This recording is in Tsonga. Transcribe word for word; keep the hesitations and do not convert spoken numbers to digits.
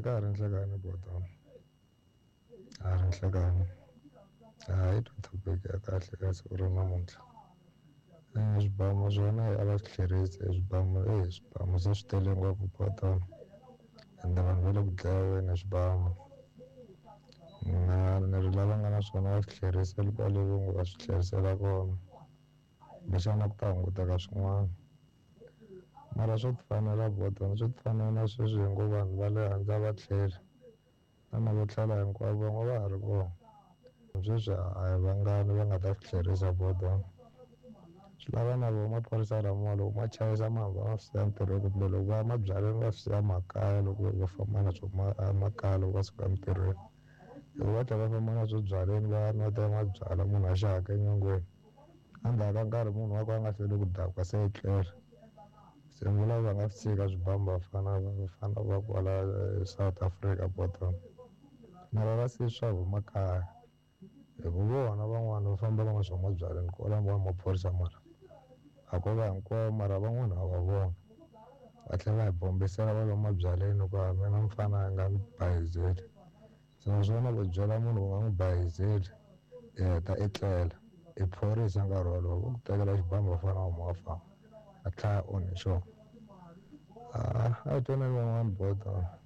ka ha ri nhlekani botona a ri nhlekani a hi twa topic ya kahle ka siku ra namuntlha. Swibamu swona a va swi tlherisi swibamu e swibamu se swi tele ngopfu botona ende vanhu va le ku dlaweni hi swibamu na ni ri lava nga na swona va swi tlherisela kwale va ngo va swi tlherisela kona kumbexana ku ta hunguteka swin'wana mara swo tifanela botona swo tifanela na sweswi hi ngo vanhu va le handle a va tlheli na na vo tlhela hinkwavo van'we va ha ri kona sweswi a hi vangani va nga ta swi tlherisa botona swi lava na voho maphorisa lamawa loko ma chayisa ma hamba ma swi siya ntirhweni kumbe loko va ya mabyaleni va swi siya makaya loko va famba na swo makaya loko va suka emitirhweni loko va tlhela va famba na swo byaleni va ya nwa mabyalwa munhu a xaka enyongweni endzhaku ka nkarhi munhu wa ku a nga hlweli ku dakwa se etlela se ni vula va nga swi tshika swibamu vafana vafana va kwala South Africa botona mara va siyi swa huma kaya hi ku vona van'wana va famba va nga swa mabyaleni kwala va maphorisa mara a ko va hinkwavo mara van'wana ha va vona va tlhela va hi bombisela va lomu mabyaleni ku a mina mfana a nga ni bayizeli se naswona ku byela munhu u nga n'wi bayizeli i heta i tlela i phorisa nkarhi wolowo va ku tekela xibamu va fana huma wa famba a tlhaya onhe xona a a hi twaneni van'wana botona.